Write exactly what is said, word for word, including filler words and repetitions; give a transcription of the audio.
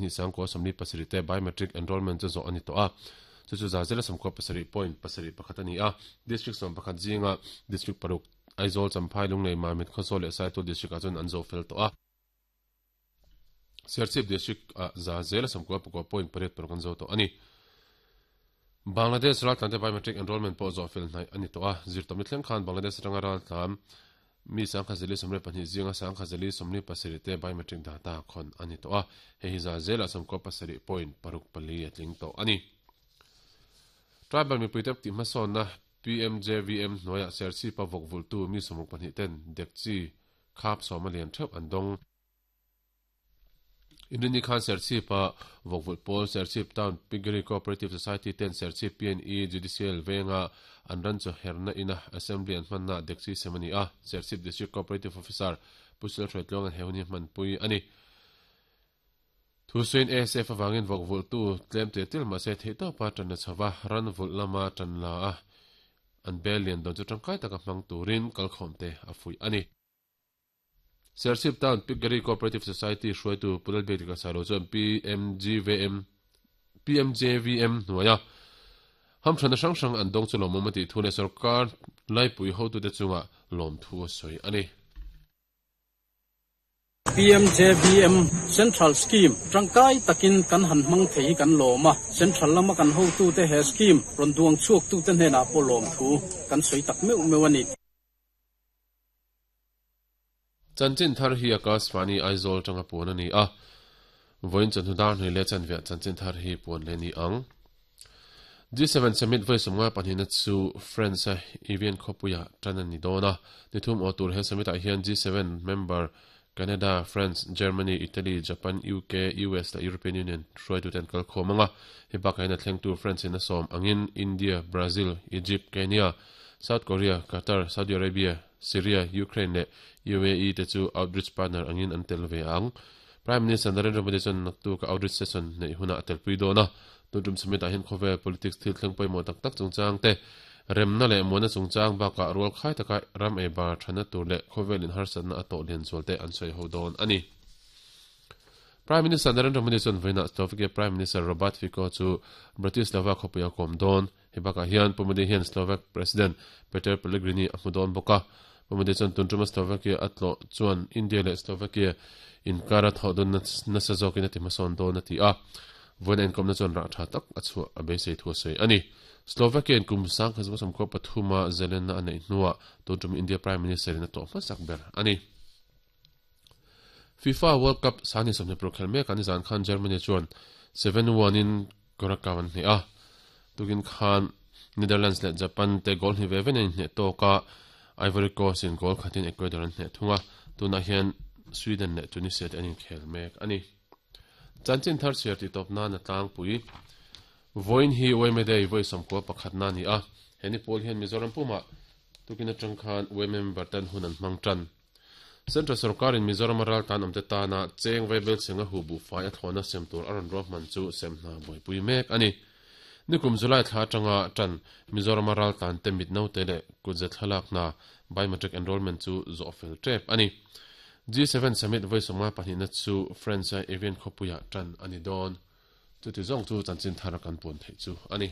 Ni sangkua sawmli pasarih te biometric enrollment chu zawh a ni tawh a, chu chu za zela sawmkua pasarih point pasarih pakhat a ni a. District sawm pakhat zinga district paruk Aizawl, Champhai, Lunglei, Mamit, Khawzawl leh Saitual district ah chuan an zawh fel tawh a. Serchhip district ah za zela sawmkua pakua point pariat paruk an zo tawh a ni. Bangladesh raltlan te biometric enrollment pawh zawh fel hnaih a ni tawh a, zirtawpni thleng khan Bangladesh atanga raltlan mi sangkhazeli sawmriat pahnih zinga sangkhazeli sawmli pasarih te biometric data khawn a ni tawh a, hei hi za zelah sawmkua pasarih point paruk pali a tling tawh a ni. Tribal mipui te tih hmasawnna P M J V M hnuaiah Serchhipa vawk vultu mi sawmruk pahnih ten dekchi khap sawm a lian theuh an dawng. Inrini khan Serchhipa vawk vulh pawl Serchhip Town Piggery Cooperative Society ten Serchhip P and E Judicial venga an ran chu herna ina Assembly an hmanna dekchi sem a ni a, Serchhip District Cooperative Officer Pu Silhruaitluang an he hun hi hmanpui a ni. Thusawiin A S F avangin vawk vulhtu tlem tel tel mahse theihtawpa tan la chhova ran vulh lama tan la a, an bel lian dawn chu tangkai taka hmang turin kalkhawmte a fuih a ni. Serchhip Town Piggery Cooperative Society hruaitu Pu Lalbiakdika Sailo chuan P M G V M P M J V M hnuaia hamthanna hrang hrang an dawng chu lawmawm a tih thu leh sorkar laipui hotute chungah lawmthu a sawi a ni. P M J V M Central Scheme tangkai takin kan han hmang thei hi kan lawm a, Central lama kan hotute he scheme rawn duang chhuaktute hnenah pawh lawmthu kan sawi tak meuh meuh a ni. Chanchin thar hi Akashvani Aizawl tanga puan a ni a, vawiin chawhnu dar hnuai leh chanveah chanchin thar hi puan leh ni ang. G seven Summit vawi sawmngai pahnihna chu France-a Evian khawpuiah tan a ni dawn a, ni thum aw tur he summit-ah hian G seven member Canada, France, Germany, Italy, Japan, U K, U S leh European Union hruaitute an kal khawm ang a, hei bakah hian a thlengtu France-in a sawm angin India, Brazil, Egypt, Kenya, South Korea, Qatar, Saudi Arabia, Syria, Ukraine leh U A E te chu outreach partner angin an tel ve ang. Prime Minister Narendra Modi chuan naktuk a outreach session neih hunah a telpui dawn a, tuntum summit-ah hian khawvel politics thil thleng pawimawh tak tak chungchang te, remna leh muanna chungchang bakah rual khai taka ram ei bar thana tur leh khawvel in harsatna a tawh lian zual te an sawi ho dawn a ni. Prime Minister Narendra Modi chuan vawiinah Slovakia Prime Minister Robert Fico chu Bratislava khawpui a kawm dawn. Hei bakah hian Pu Modi hian Slovak President Peter Pellegrini a hmu dawn bawk a. Pu Modi chuan tun tuma Slovakia a tlawh chuan India leh Slovakia inkar a thawh dawn nasa zawkin a ti hmasawn dawn a ti a. Vawiin a inkawmna chuan rah tha tak a chhuah a beisei thu a sawi a ni. Slovakia in kum sangkhat sawmkua pathuma Zelenna a neih hnuah tun tum India Prime Minister in a tlawh hmasak ber a ni. FIFA World Cup sani sawmhnih paruk khelh mek a nizan khan Germany chuan seven one in Curacao an hneh a. Tukin khan Netherlands leh Japan te goal hnih ve ve nen inhneh tawk a, Ivory Coast in goal khatin Ecuador an hneh thung a, tunah hian Sweden leh Tunisia te an inkhel mek a ni. Chanchin thar chhiar tih tawp nan a tlangpui. Vawiin hi U M A Day vawi sawmkua pakhatna a ni a, he ni pawl hian Mizoram pumah tukin atang khan U M A member ten hun an hmang tan. Central sorkarin Mizoram a raltlan awmte tana cheng vaibel chhenga hu buhfai a thlawhna sem tur a rawn ruahman chu sem hna buaipui mek a ni. Nikum July thla atanga tan Mizoram a raltlan te mit naute leh kutze thlalak hna biometric enrollment chu zawh fel tep a ni. G seven Summit vawi sawmnga pahnihna chu France-a Evian khawpuiah tan a ni dawn. Chuti zawng chu chanchin thar kan puan theih chu a ni.